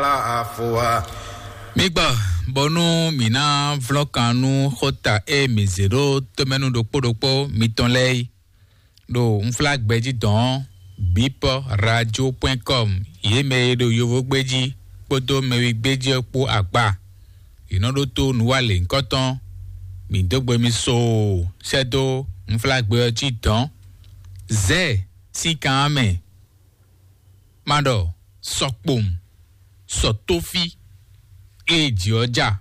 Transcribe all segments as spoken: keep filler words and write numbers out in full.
Afowa. Mi gbɔ, bɔnú mǐ ná vlɔ́n kan nú xóta e mǐ zě ɖó tomɛnu ɖokpó ɖokpó mitɔn lɛ́ɛ yi ɖo unflágbɛjí dɔn ɔ́, bipɔ radio point com, yě mɛ e ɖo yovogbéjí kpódó mɛwigbéjí ɔ́ kpó agba. Yě nɔ ɖótó nǔwalěŋkɔtɔn mǐ dó gbe mi soo sɛ́ dó unflágbɛ ɔ́ jí dɔn. Zɛ̌ sín kan ɔ́ mɛ, ma ɖɔ sɔkpowun, sɔtófí e jǐ ɔ́ ja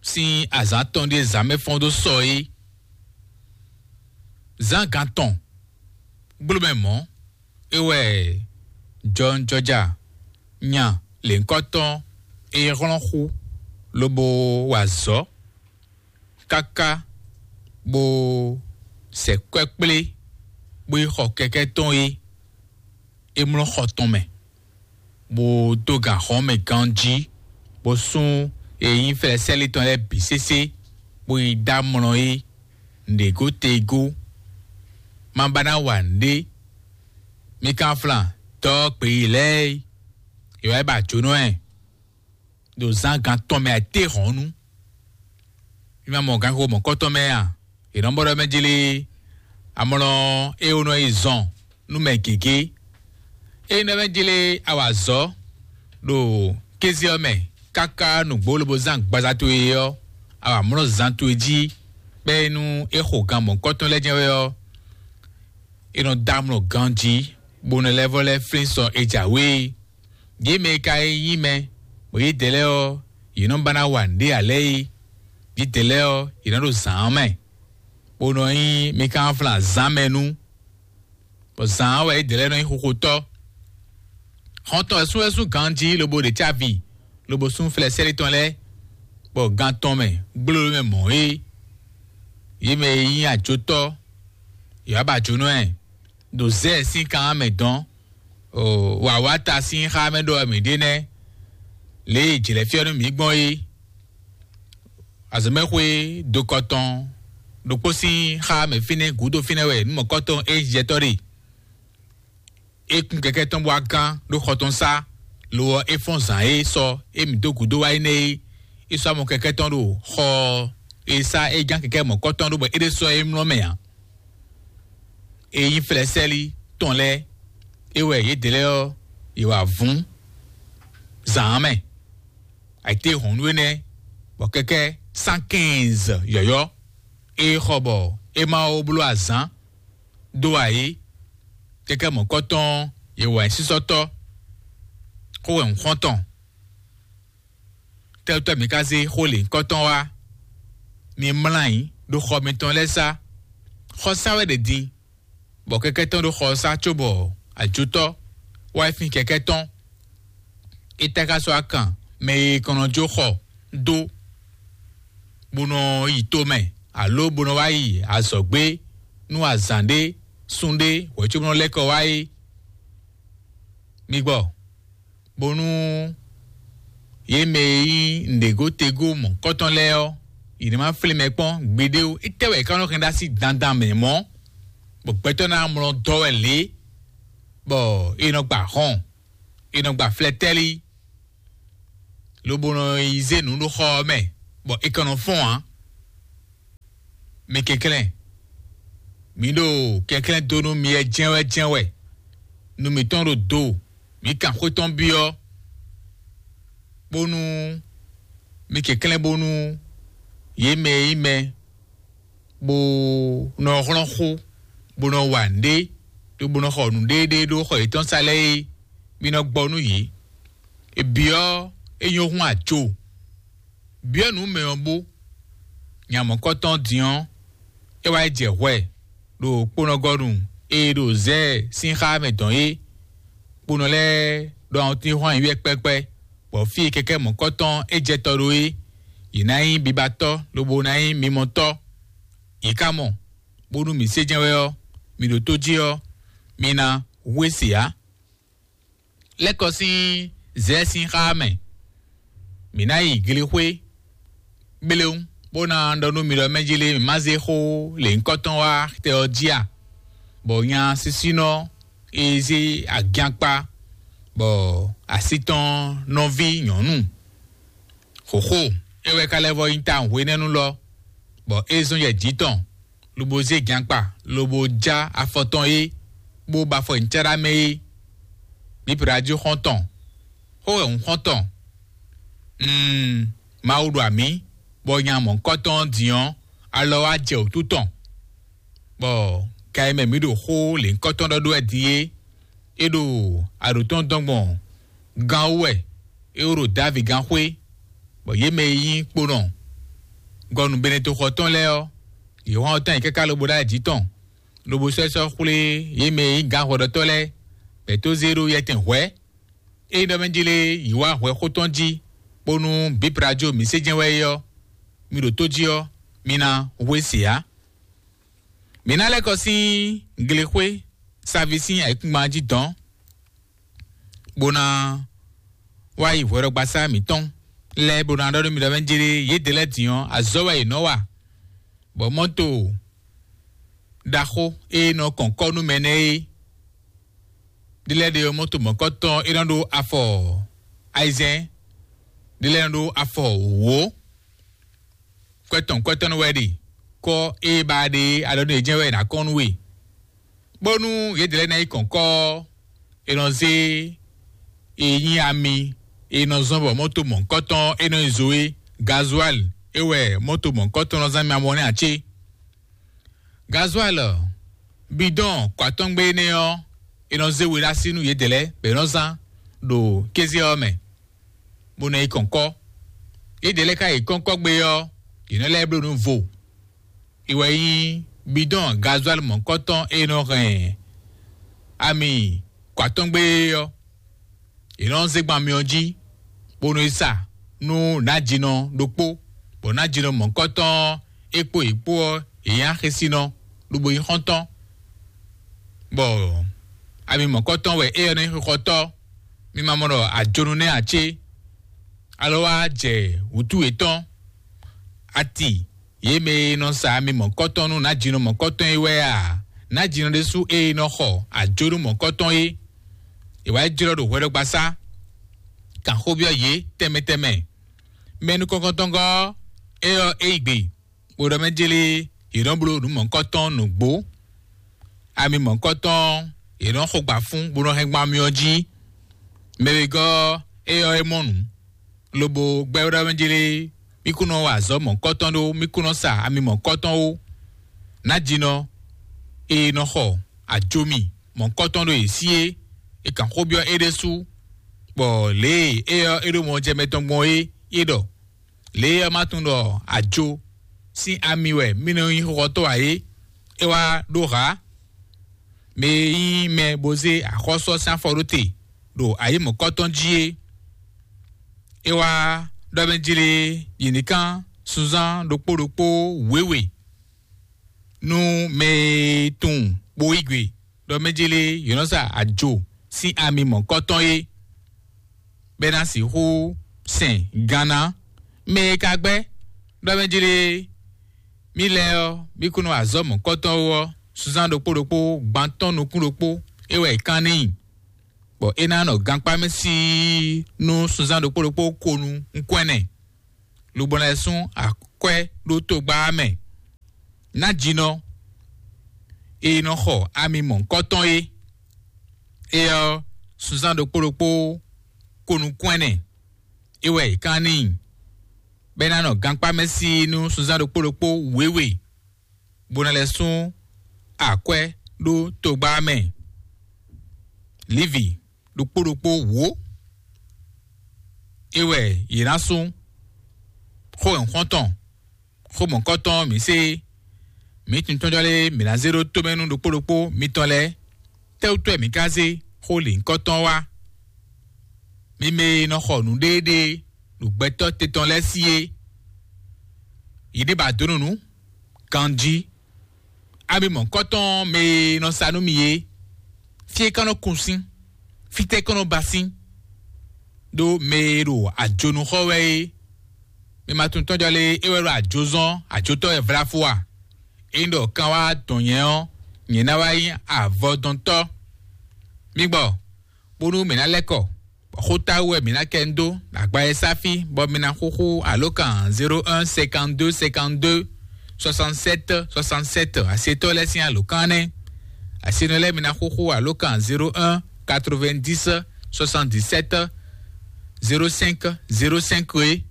sín azǎn tɔn ɖíe zǎn mɛ fɔ́n dó sɔ é. Zán gan tɔn gbló mɛ mɔ̌, é wɛ jɔnjɔja nya lěhunkɔtɔn e hlɔ́n xú lobo wa azɔ̌ káká bó sɛ kwɛ́ kplé bó yi xɔ kɛkɛ́ tɔn é. É mlɔ́ xɔ tɔn mɛ, bó dó gan xɔ́n mɛ ganjí, bó sú e nyí flɛ́sɛ́lí tɔn lɛ́ɛ bǐ sésé, bó yi dó amlɔ é nǔɖégó tegó. Má ba ná wa nǔɖé. Mi kan flan dɔ́ gbeyǐ lɛ́ɛ é, è wá yi ba jǒnɔ ɛ ɖo zán gan tɔn mɛ ayǐtéhɔ̌nnu. Mi ma mɔ ganxixo mɔ̌kɔtɔn mɛ a? È nɔ bɔ ɖɔ mɛ jlé amlɔ e wonɔ yi zɔn nú mɛ gěgé. Ényí ɖɔ mɛ jlé a wa azɔ̌ ɖo kéze ɔ́ mɛ káká nǔgbó lobo zán agbaza towe ɔ́, a wa mlɔ́ zan towe jí, bɛ́ nú é xo gan mɔ̌kɔtɔn lɛ́ɛ jɛ́n wɛ ɔ́, è nɔ dó amlɔ ganjí, bó nɔ lɛ́ vɔ lɛ́ flín sɔ è jǎwe é. Yě mɛ e ka nyí mɛ, bɔ yědɛɛ lɛ́ɛ ɔ́, yě nɔ ba ná wa nǔɖé ǎ lɛ́ɛ é. Yědɛɛ lɛ́ɛ ɔ́, yě nɔ ɖo zǎn ɔ́ mɛ, bó nɔ nyí mi kan flán zǎn mɛ nú, bɔ zǎn ɔ́ wɛ yědɛɛ lɛ́ɛ nɔ nyí xoxotɔ́. Xɔ́ntɔn wɛ sú wɛ sú ganjí lobo ɖe cávi, lobo sú flɛ́sɛ́lí tɔn lɛ́ɛ, bɔ gan tɔn mɛ gbló mɛ mɔ̌ é. Yě mɛ e nyí ajotɔ́, yě wá ba jǒnɔ ɛ. Ɖo Zɛ́ɛ sín kan ɔ́ mɛ dɔn, wǎwáta sín xá mɛ ɖɔ wɛ mǐ ɖe nɛ́, lě e jlɛ̌fyɔ́ nú mǐ gbɔn é. Azɔ̌mɛxwé dokɔtɔn ɖokpó sín xá mɛ fínɛ́ gǔdo fínɛ́ wɛ nǔmɔkɔ́tɔn Ejiptɔ́ ɖe. É kún kɛkɛ́ tɔn bó wá gán ɖó xɔ tɔn sá, lo ɔ́, é fɔ́n zǎn e sɔ é mǐ dó gǔdo wá énɛ́ é. É sɔ́ amɔ kɛkɛ́ tɔn ɖo xɔ e sá é gán kɛkɛ́ mɔ̌kɔ́tɔn ɖó bɔ é ɖésú ɔ́ é mlɔ́ mɛ ǎ. E nyí flɛ́sɛ́lí tɔn lɛ́ɛ, é wɛ yědɛɛ lɛ́ɛ ɔ́, yě wá vún zǎn mɛ. Ayǐtéhɔ̌nnu énɛ́, bɔ kɛkɛ́ cent quinze yɔ̌yɔ́, é xɔ bɔ é ma ó bló azǎn dó ǎ é. Kɛkɛ́ mɔ̌kɔ́tɔn yě wá nyí sísɔ́tɔ́, xó wɛ un xɔ́n tɔn. Tɛ́tɔ́ mǐ ka zé xó lěhunkɔtɔn wá? Mi mlá ayǐ ɖo xɔ mitɔn lɛ́ɛ sá. Xɔ sá wɛ ɖe din, bɔ kɛkɛ́ tɔn ɖo xɔ ɔ́ sá cóbɔ ajotɔ́ wá yi fín kɛkɛ́ tɔn. É tá ka sɔ́ akan mɛ e kɔn nɔ jó xɔ dó, bó nɔ yi tomɛ, alo bó nɔ wá yi azɔ̌gbé nú azǎn ɖé, sun ɖé, hwɛ̌cóbó nɔ lɛ́ kɔ wá é. Mi gbɔ, bónú yě mɛ e nyí nǔɖégó tegó mɔ̌kɔtɔn lɛ́ɛ ɔ́, yě ní ma flín mɛ kpɔ́n gbeɖé ó. Étɛ́ wɛ è ka nɔ hɛn ɖó así dandan mɛ mɔ̌, bɔ gbɛtɔ́ ná mlɔ dɔ́ wɛ lě, bɔ è nɔ gba hɔn, è nɔ gba flɛtɛ́lí, lobo nɔ yi zé nǔ ɖo xɔ ɔ́ mɛ, bɔ è ka nɔ fɔ́n ǎ? Mi kɛnklɛ́n, mǐ ɖo kɛnklɛ́n dó nú mi wɛ jɛ́n wɛ jɛ́n wɛ. Nu mǐtɔn ɖo do, mǐ kan xwé tɔn byɔ́, bónú mi kɛnklɛ́n bónú yě mɛ e nyí mɛ bó nɔ hlɔ́n xó, bó nɔ wa nǔɖé, ɖó bó nɔ xɔ nǔɖéɖé ɖó xɔ yětɔn sá lɛ́ɛ é, mi nɔ gbɔ nú yě. È byɔ́ é nyɔ́ hún ajo, byɔ́ nǔ mɛ ɔ́ bó. Nya mɔ̌kɔtɔn din ɔ́, é wá yi jɛ hwɛ ɖo kponɔgɔnu e ɖo Zɛɛ sín xá mɛ dɔn é. Kponɔ lɛ́ɛ ɖo awɔntín hwan yi wɛ kpɛ́kpɛ́, bɔ fí e kɛkɛ́ mɔ̌kɔtɔn é jɛ tɔ ɖó é, yě ná nyí bibatɔ́ lobo ná nyí mimɔtɔ́. Yě ka mɔ, bónú mǐ sé jɛ́n wɛ ɔ́, mǐ ɖo tó jí ɔ́, mi ná hu e se ǎ. Lɛ́ kɔ sín Zɛɛ sín xá mɛ. Mǐ ná yi glixwé gblewún, bó ná ɖɔ nú mi ɖɔ mɛ jí lé mǐ má zé xó lěhunkɔtɔn wá tɛ ɔ́ jí a? Bɔ nya sísínɔ e zé agyankpa bɔ así tɔn nɔví nyɔ̌nu xǒxo é wɛ ka lɛ́ vɔ nyí tawun hwenɛ́nu lɔ, bɔ é zɔ́n yɛ jǐ tɔn, lobo zé gankpa, lobo já afɔ tɔn é, bó ba afɔ nyi cáɖá mɛ é. Bíblá jí xɔ́ntɔn, xó wɛ un xɔ́ntɔn. Mm, Mawu ɖo amǐ, bɔ nya mɔ̌hunkɔtɔn ɔ́ din ɔ́, alɔ wá jɛ wǔtu tɔn, bɔ ga e mɛ mǐ ɖo xó lěhunkɔtɔn ɖɔ ɖó wɛ din é, é ɖo aɖǒ tɔn dɔn gbɔn gán wú wɛ, é wó ɖo Davi gán xwé, bɔ yě mɛ e nyí kponɔ gɔnu Benetoxɔ tɔn lɛ́ɛ ɔ́, yě hɔn ɔ́ tán yi káká lobo ɖó ayǐ jǐ tɔn, lobo sɔ́ ɛ sɔ́ xwlé yě mɛ e nyí gǎnhwɛɖɔtɔ́ lɛ́ɛ, bɔ è tó zé ɖó yɛtɛn hwɛ̌. Ényí ɖɔ mɛ jlé yǐ wá hwɛ xó tɔn jí, bónú bǐblá jó mǐ sé jɛ́n wɛ é ɔ́, mi ɖo tó jí ɔ́, mi ná hwe se ǎ. Mǐ ná lɛ́ kɔ sín glexwé saví sín ayǐkúngban jí dɔ̌n, bó ná wá yi hwɛɖɔgbasá mǐtɔn lɛ́ɛ, bó ná ɖɔ nú mi ɖɔ mɛ jlé yědɛɛ lɛ́ɛ din ɔ́, azɔ̌ wɛ yě nɔ wa, bɔ mɔ́to ɖaxó e nɔ kɔn kɔ́ nú mɛ nɛ́ é. Ɖi lɛ́ɛ ɖe ɔ́, mɔ́to mɔ̌kɔtɔn é nɔ ɖó afɔ ayizɛ́n, ɖi lɛ́ɛ nɔ ɖó afɔ wǒ. Kwɛtɔn kwɛtɔ́nú wɛ ɖe kɔ́ e ba ɖe alɔ nú yě jɛ́n wɛ è nǎ kɔn nú we, bónú yědɛɛ lɛ́ɛ ná yi kɔn kɔ́ ɔ́, è nɔ zé e nyí ami e nɔ zɔ́n bɔ mɔ́to mɔ̌kɔtɔn é nɔ nyi zo é, gazuwali é wɛ mɔ́to mɔ̌kɔtɔn nɔ zán mi amɔ nɛ́ ǎ cé? Gazuwali bidɔn kɔatɔ́ngbe énɛ́ ɔ́, è nɔ zé we ɖó así nú yědɛɛ lɛ́ɛ bɔ è nɔ zán ɖo kéze ɔ́ mɛ, bó nɔ yi kɔn kɔ́. Yědɛɛ lɛ́ɛ ka yi kɔ́nkɔ́gbe ɔ́, yě nɔ lɛ́ bló nǔ vo. È wɛ nyí bidɔn gazuwali mɔ̌kɔtɔn e nɔ hɛn ami kɔatɔ́ngbe é ɔ́. È nɔ zé gban myɔ jí, bó nɔ yi sa nú nǎjínɔ ɖokpó, bɔ nǎjínɔ mɔ̌kɔtɔn ɔ́, é kpó yě kpó ɔ́, yě nyí axésinɔ, lobo nyí xɔ́ntɔn, bɔ ami mɔ̌kɔtɔn wɛ éyɛ́ nɔ nyí xixɔtɔ́. Mi ma mɔ ɖɔ ajonu nɛ́ ǎ cé? Alɔ wá jɛ wǔtu yětɔn, ati yě mɛ e nɔ sa ami mɔ̌kɔtɔn nú nǎjínɔ mɔ̌kɔtɔn é wɛ a? Nǎjínɔ ɖésú e nɔ xɔ ajonu mɔ̌kɔtɔn é, è wá yi jlɔ́ ɖo hwɛɖɔgbasá, kan xó byɔ́ yě tɛnmɛ tɛnmɛ. Mɛ nukɔntɔngɔ́ ɔ́, é ɔ́, é yi gbe, bó ɖɔ mɛ jlé yě nɔ bló nǔ mɔ̌hunkɔtɔn nǔgbó. Ami mɔ̌hunkɔtɔn yě nɔ xo gbǎ fún, bó nɔ hɛn gban myɔ jí. Mɛ wegɔ́ ɔ́, é ɔ́, é mɔ nǔ, lobo gbɛ́ ɖɔ mɛ jlé, mí kún nɔ wa azɔ̌ mɔ̌hunkɔtɔn ɖó, mí kún nɔ sa ami mɔ̌hunkɔtɔn ó. Nǎjínɔ e nɔ xɔ ajomi mɔ̌hunkɔtɔn ɖo yě sí é, è kan xó byɔ́ é ɖésú, bɔ lě e é ɔ́, é ɖo mɔ jɛ mɛ tɔn gbɔn é, é ɖɔ: Lě e ɔ́, ma tunwun ɖɔ ajo sín ami wɛ mì nɔ nyí xɔxɔtɔ́ ǎ é, é wá ɖó hǎ. Mɛ e nyí mɛ bó zé axɔ́sú ɔ́ sín afɔ ɖó te ɖo ayǐ mɔ̌kɔtɔn jí é, é wá ɖɔ mɛ jlé yě ní kán sunzán ɖokpó ɖokpó wěwe nú mɛ e tunwun bó yí gbe ɖɔ mɛ jlé yě nɔ sa ajo sín ami mɔ̌kɔtɔn é, bɔ é ná sixú sɛn gan ná. Mɛ e ka gbɛ́ ɖɔ mɛ jlé mì lɛ́ɛ ɔ́, mì kún nɔ azɔ̌ mɔ̌kɔtɔn ó ɔ́, sunzán ɖokpó ɖokpó gban tɔn nukún ɖokpó é wɛ è kán n'i, bɔ é ná nɔ gankpá mɛ síi nú sunzán ɖokpó ɖokpó ko nu nukún ɛnɛ, lobo ná lɛ́ sún akwɛ́ ɖó togba ɔ́ mɛ. Nǎjínɔ e nɔ xɔ ami mɔ̌hunkɔtɔn é, é ɔ́, sunzán ɖokpó ɖokpó ko nukún ɛnɛ é wɛ è kán n'i, bɔ é ná nɔ gankpá mɛ síi nú sunzán ɖokpó ɖokpó wěwe, bó ná lɛ́ sún akwɛ́ ɖó togba ɔ́ mɛ. Livi ɖokpó ɖokpó wǒ é wɛ yě ná sú xó nyɔ̌xɔ́ntɔn, xó mɔ̌kɔtɔn mǐ sé. Mǐ tunwun tɔ́jɔ́ lé mǐ ná zé ɖó tomɛ nú ɖokpó ɖokpó mitɔn lɛ́ɛ? Tɛ́wútu wɛ mǐ ka zé xó lǐnkɔ́tɔn wá? Mi mɛ e nɔ xɔ nǔɖéeɖée ɖo gbɛtɔ́ te tɔn lɛ́ɛ sí é, yě ɖě ba dǒ nǔ nú ganjí. Ami mɔ̌kɔtɔn mɛ e nɔ sa nú mi é, fí é ka nɔ kun sín, fítɛ́ é ka nɔ ba sín, ɖó mɛ e ɖo ajonu xɔ wɛ é, mi ma tunwun tɔ́jɔ́ lé é wɛ ɖo ajo zɔ́n, ajotɔ́ wɛ vlá fó a? Ényí ɖɔ kan wá dɔn nyɛ ɔ́, nyɛ ná wá nyí avɔdɔntɔ́. Mi gbɔ, bónú mǐ ná lɛ́ kɔ Xótáwú wɛ mǐ ná kɛ ń dó agba e sáfí bɔ mi ná xúxú alǒkan zéro un cinquante-deux cinquante-deux soixante-sept soixante-sept. Asetɔ́ lɛ́ɛ sín alǒkan nɛ́. Asenɔ lɛ́ɛ mi ná xúxú alǒkan zéro un quatre-vingt-dix soixante-dix-sept zéro cinq zéro cinq é.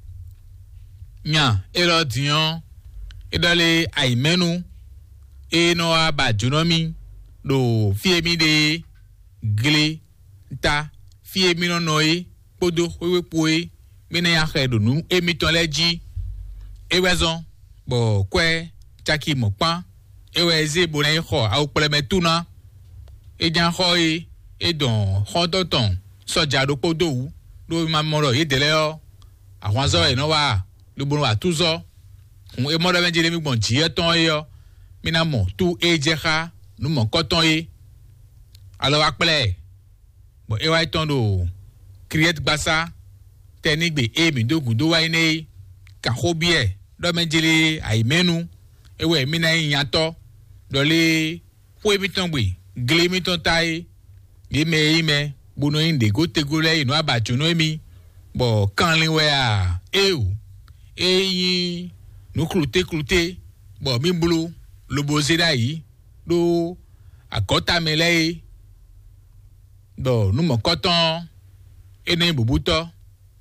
Nya élɔ́ din ɔ́, é ɖɔ lé ayǐmɛ́nu e nɔ wá ba jǒnɔ mì ɖo fí e mì ɖe é, gle ta fí e mì nɔ nɔ é kpódó xwéwé kpo é, mì ná nyi axɛ ɖo nǔ émítɔn lɛ́ɛ jí. É wɛ zɔ́n bɔ kwɛ́ caki mɔ̌kpán é wɛ é zé bó ná yi xɔ awukplɛ́mɛ tú ná. É ján xɔ é, é dɔn xɔ́ntɔn tɔn sɔ́ja ɖokpó dó wǔ, ɖó é ma mɔ ɖɔ yědɛɛ lɛ́ɛ ɔ́, ahwanzɔ́ wɛ yě nɔ wa, lobo nɔ wa túzɔ́. Hǔn é mɔ ɖɔ mɛ jlé mì gbɔn jǐ yɛ́ tɔn é ɔ́, mì ná mɔ tú e jɛ xá nǔ mɔ̌kɔtɔn é. Alɔ wá kplá ɛ, bɔ é wá yi tɔn ɖo Kriɛtgbasá tɛnígbe e mǐ dó gǔdo wá yi nɛ́ é. Kan xó byɔ́ ɛ ɖɔ mɛ jlé ayǐmɛ́nu é wɛ mì ná nyí nyatɔ́, ɖɔ lé xó émítɔn gbe, gle émítɔn ta é. Yě mɛ e nyí mɛ bó nɔ nyí nǔɖégótegó lɛ́ɛ yi nǔ abǎjǒnɔ émí, bɔ kanlin wɛ a? Éeǒ, é nyí nǔ klutékluté, bɔ mì bló lobo zé ɖ'ayǐ ɖó agɔ̌ta mɛ lɛ́ɛ é, ɖɔ nǔ mɔ̌kɔtɔn ɔ́, é nɔ nyí bǔbútɔ́,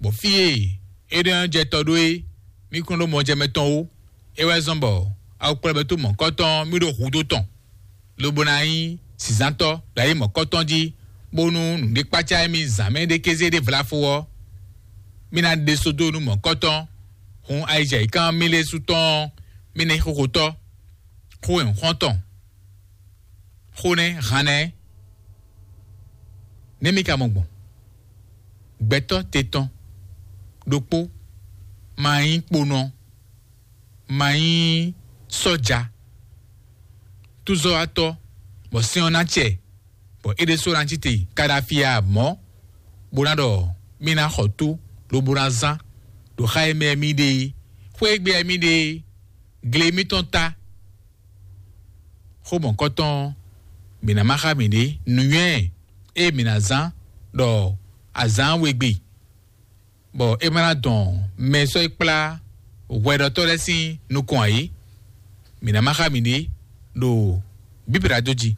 bɔ fí e é nɔ jɛ tɔ ɖó é, mì kún ɖó mɔjɛmɛ tɔn ó. É wɛ zɔ́n bɔ awukplɔ́bɛ́tó mɔ̌kɔtɔn mì ɖo hudó tɔn, lobo ná nyí zǐnzántɔ́ ɖo ayǐ mɔ̌kɔtɔn jí, bónú nǔɖé kpácá émí zǎn mɛ ɖé kéze ɖé vlafo ɔ́, mì ná ɖe só dó nú mɔ̌kɔtɔn. Hun ayijɛ̌yǐkan mì lɛ́ɛ su tɔn ɔ́, mì ná nyí xóxotɔ́, xó e un xɔ́n tɔn, xó nɛ́ han nɛ́. Nɛ́ mì ka mɔ gbɔn? Gbɛtɔ́ te tɔn ɖokpó ma nyí kponɔ, ma nyí sɔ́ja, túzɔ́watɔ́, bɔ sɛ́n ɔ́ ná cɛ, bɔ é ɖésú ná cí te Kaɖafi ǎ mɔ̌, bó ná ɖɔ mì ná xɔ tó, lobo ná zán ɖo xá e mɛ mì ɖe é, xwé e gbe mì ɖe é, gle mítɔn ta. Xó mɔ̌kɔtɔn ɔ́, mǐ ná má xá mǐɖée nǔnywɛ́ e mǐ ná zán ɖɔ azǎn wegbe, bɔ é ma ná dɔn mɛ e sɔ́ yi kplá hwɛɖɔtɔ́ lɛ́ɛ sín nukɔn ǎ é. Mǐ ná má xá mǐɖée ɖo Bíblia dó jí.